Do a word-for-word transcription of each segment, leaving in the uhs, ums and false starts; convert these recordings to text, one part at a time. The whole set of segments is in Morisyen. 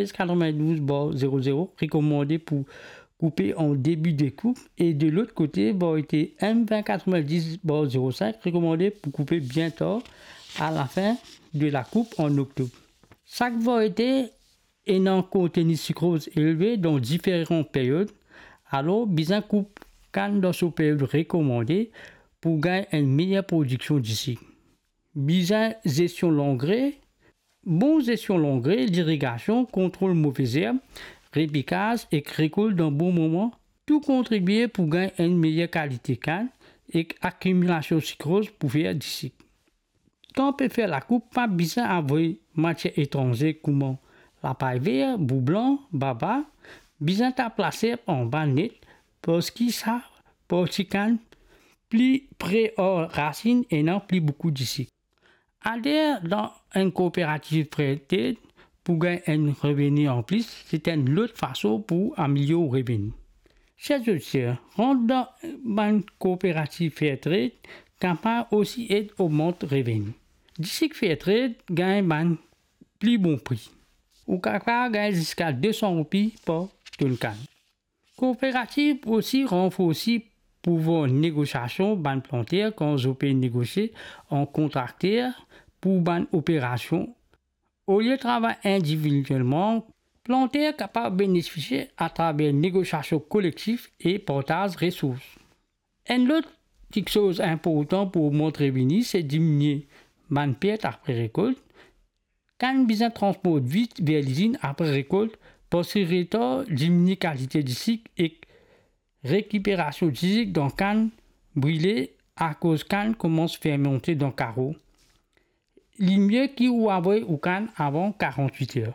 S quatre-vingt-douze barre zéro zéro rekomande pou koupe an debi de koup e de lot kote, varite M vingt quatre-vingt-dix barre zéro cinq rekomande pou koupe bien tar, a lafin de lakoup an oktob. Sak varite ena konteni sikroz elve dan diferan period, alor bizin koup kann dan so period rekomande pou gagn enn meyer prodiksion disik. Bizin zestion langre, bon zestion langre, lirigasion, kontrol move zerb, repikaz ek rekolt dan bon moman, tou kontribie pou gagn enn meyer kalite kann ek akimilasion sikroz pou fer disik. Kan pe fer lakoup, pa bizin avoy matier etranze kouma lapay ver, bou blan, baba, bizin tap laserp anba net, parski sa parti kann pli pre ar rasinn ena pli boukou disik. Ader dan enn kooperativ Fairtrade pou gagn enn reveni anplis, se enn lot fason pou amelior ou reveni. Ser zoditer, rant dan bann kooperativ Fairtrade kapav osi ed ogmant reveni. Disik Fairtrade gagn bann pli bon pri. Ou kapav gagn ziska de san roupi par tonn kann. Kooperativ osi ranforsi pouvwar negosiasion bann planter kan zot pe negosie an kontrakter pou bann operasion. Olie travay individielman, planter kapav benefisie atraver negosiasion kolektif e partaz resours. Enn lot kiksoz inportan pou ogmant reveni, se diminie bann pert apre rekolt. Kann bizin transport vit ver lizinn apre rekolt, parski retar diminie kalite disik ek rekiperasion disik dan kann brile akoz kann koumans fermante dan karo. Li mie ki ou avoy ou kann avan karant-wit er.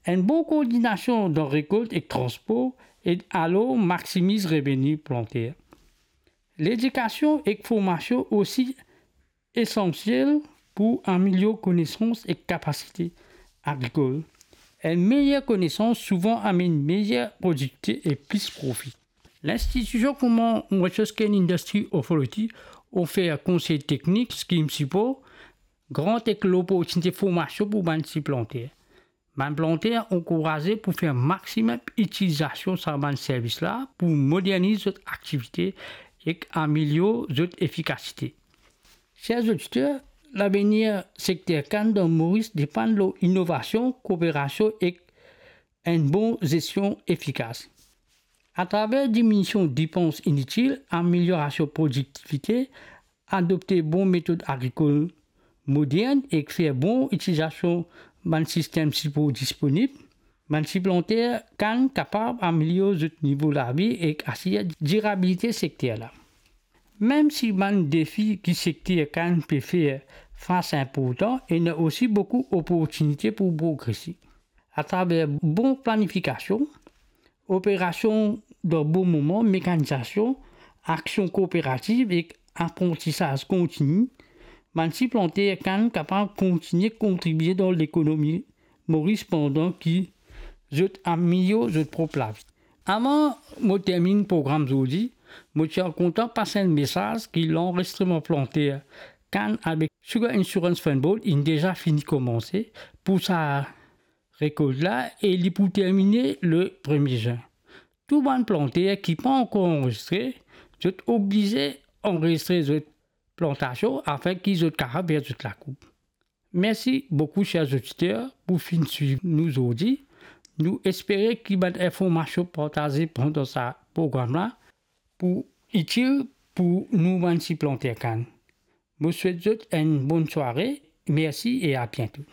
Enn bon koordinasion dan rekolt ek transpor ed alor maksimiz reveni planter. Ledikasion ek formasion osi esansiel pou amelior konesans ek kapasite agrikol. Enn meyer konesans souvan amenn meyer prodiktivite e plis profi. Linstitision kouma Western Industry Authority ofer konsey teknik, skim sipor, grant ek loportinite formasion pou bann ti planter. Bann planter ankouraze pou fer maksimem itilizasion sa bann servis la pou moderniz zot aktivite ek amelior zot efikasite. Ser zoditer, lavenir sekter kann dan Moris depann lor inovasion, kooperasion ek enn bon zestion efikas. Atraver diminision depans initil, ameliorasion prodiktivite, adopte bon metod agrikol modern ek fer bon itilizasion bann sistem sipor disponib, bann ti planter kann kapav amelior zot nivo lavi ek asir dirabilite sekter la. Mem si bann defi ki sekter kann pe fer fas inportan, ena osi boukou oportinite pou progrese. Atraver bon planifikasion, operasion dan bon moman, mekanizasion, aksion kooperativ ek aprantisaz kontini, bann ti planter kann kapav kontigne kontribie dan lekonomi Moris pandan ki zot amelior zot prop lavi. Avan mo terminn program zordi, mo ti a kontan pas enn mesaz ki lanrezistreman planter kann avek Sugar Insurance Fund Board inn deza fini koumanse pou sa rekolt la e li pou termine le premie zin. Tou bann planter ki pa ankor anrezistre, zot oblize anrezistre zot plantasion afin ki zot kapav fer zot lakoup. Mersi boukou, ser zoditer, pou finn swiv nou zordi. Nou espere ki bann informasion partaze pandan sa program la pou itil pou nou bann ti planter kann. Mo swet zot enn bonn sware. Mersi e a biento.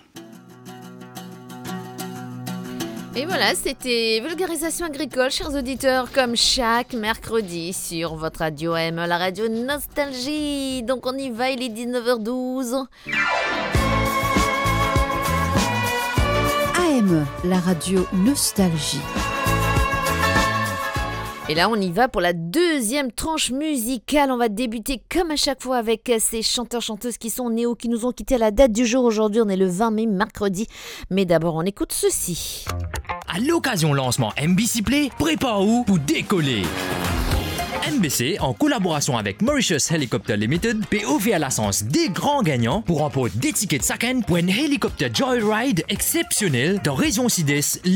Et voilà, c'était Vulgarisation agricole, chers auditeurs, comme chaque mercredi sur votre radio A M, la radio Nostalgie. Donc on y va, il est dix-neuf heures douze. A M, la radio Nostalgie. Et là, on y va pour la deuxième tranche musicale. On va débuter, comme à chaque fois, avec ces chanteurs-chanteuses qui sont nés ou qui nous ont quittés à la date du jour. Aujourd'hui, on est le vingt mai, mercredi. Mais d'abord, on écoute ceci. A lokazion lansman M B C Play, prepar ou pou dekole. M B C, an kolaborasion avek Mauritius Helicopter Limited, pe ofer lasans de gran gagnan pou ranport de tiket sakenn pou enn helikopter joyride exsepsionel dan rezion Sides Lil.